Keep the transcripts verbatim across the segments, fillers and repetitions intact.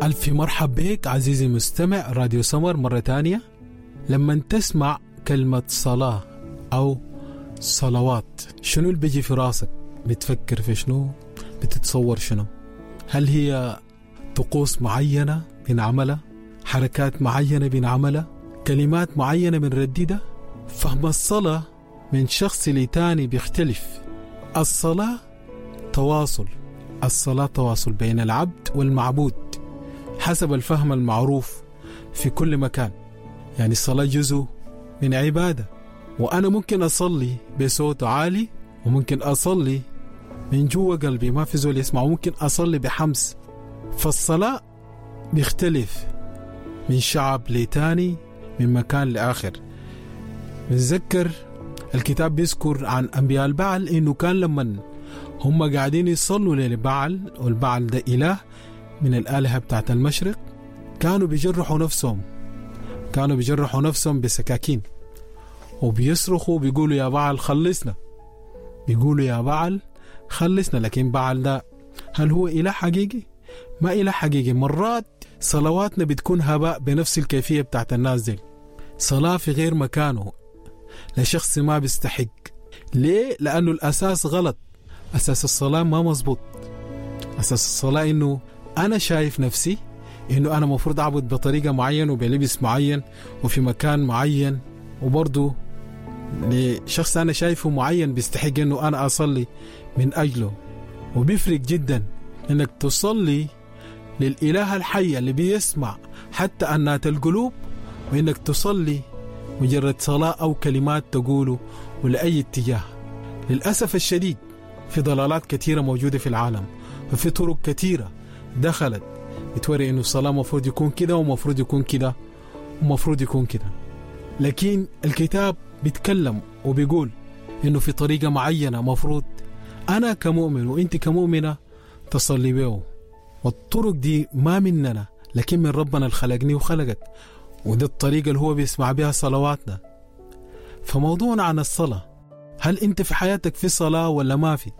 ألف مرحب بك عزيزي المستمع راديو سمر مرة تانية. لما تسمع كلمة صلاة أو صلوات، شنو اللي بيجي في راسك؟ بتفكر في شنو؟ بتتصور شنو؟ هل هي طقوس معينة بنعملها؟ حركات معينة بنعملها؟ كلمات معينة بنرددها؟ فهم الصلاة من شخص لتاني بيختلف. الصلاة تواصل، الصلاة تواصل بين العبد والمعبود حسب الفهم المعروف في كل مكان. يعني الصلاة جزء من عبادة، وأنا ممكن أصلي بصوت عالي، وممكن أصلي من جوا قلبي ما في زول يسمع، وممكن أصلي بحمس. فالصلاة بيختلف من شعب لتاني، من مكان لآخر. بنذكر الكتاب بيذكر عن أنبياء البعل إنه كان لما هم قاعدين يصلوا للبعل، والبعل ده إله من الآلهة بتاعت المشرق، كانوا بيجرحوا نفسهم، كانوا بيجرحوا نفسهم بسكاكين وبيصرخوا بيقولوا يا بعل خلصنا، بيقولوا يا بعل خلصنا. لكن بعل ده هل هو إله حقيقي؟ ما إله حقيقي. مرات صلواتنا بتكون هباء بنفس الكيفية بتاعت الناس دي، صلاة في غير مكانه لشخص ما بيستحق. ليه؟ لأنه الأساس غلط، أساس الصلاة ما مزبوط. أساس الصلاة إنه أنا شايف نفسي إنه أنا مفروض أعبد بطريقة معينة وبلبس معين وفي مكان معين، وبرضه لشخص أنا شايفه معين بيستحق إنه أنا أصلي من أجله. وبيفرق جدا إنك تصلي للإله الحي اللي بيسمع حتى أنات القلوب، وإنك تصلي مجرد صلاة أو كلمات تقوله ولأي اتجاه. للأسف الشديد في ضلالات كثيرة موجودة في العالم، وفي طرق كثيرة دخلت بتوري إنه الصلاة مفروض يكون كده ومفروض يكون كده ومفروض يكون كده. لكن الكتاب بيتكلم وبيقول إنه في طريقة معينة مفروض أنا كمؤمن وإنت كمؤمنة تصلي به، والطرق دي ما مننا لكن من ربنا اللي خلقني وخلقك، وده الطريقة اللي هو بيسمع بها صلواتنا. فموضوعنا عن الصلاة، هل أنت في حياتك في صلاة ولا ما في؟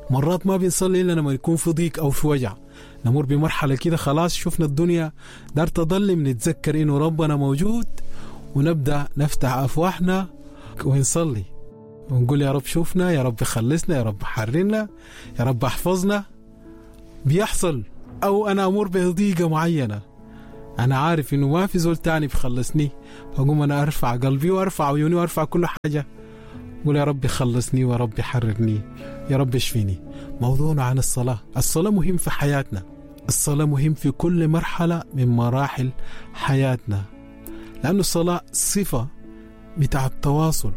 مرات ما بنصلي إلا لما يكون في ضيق أو في وجع، نمر بمرحلة كده خلاص شفنا الدنيا دار تظلم، نتذكر إنه ربنا موجود ونبدأ نفتح أفواهنا ونصلي ونقول يا رب شوفنا، يا رب خلصنا، يا رب حررنا، يا رب احفظنا. بيحصل أو أنا أمر بضيقة معينة، أنا عارف إنه ما في زول تاني بخلصني، فأقوم أنا أرفع قلبي وأرفع عيوني وأرفع كل حاجة، أقول يا رب خلصني ويا رب حررني، يا رب اشفيني. موضوعنا عن الصلاة. الصلاة مهم في حياتنا، الصلاة مهم في كل مرحلة من مراحل حياتنا، لأن الصلاة صفة بتاع التواصل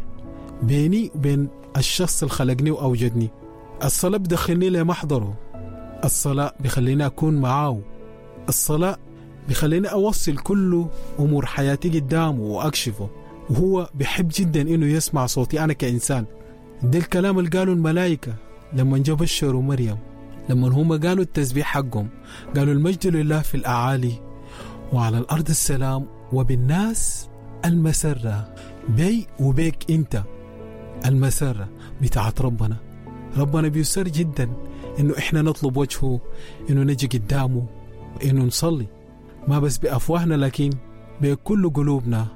بيني وبين الشخص اللي خلقني وأوجدني. الصلاة بدخلني لمحضره، الصلاة بخليني أكون معاه، الصلاة بخليني أوصل كل أمور حياتي قدامه وأكشفه، وهو بيحب جدا إنه يسمع صوتي أنا كإنسان. ده الكلام اللي قالوا الملائكة لما جا بشروا مريم، لما هم قالوا التسبيح حقهم، قالوا المجد لله في الأعالي وعلى الأرض السلام وبالناس المسرة. بي وبيك أنت المسرة بتاعت ربنا. ربنا بيسر جدا إنه إحنا نطلب وجهه، إنه نجي قدامه، إنه نصلي، ما بس بأفواهنا لكن بكل قلوبنا،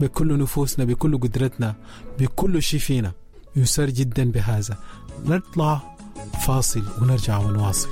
بكل نفوسنا، بكل قدرتنا، بكل شيء فينا. يسر جدا بهذا. نطلع فاصل ونرجع ونواصل.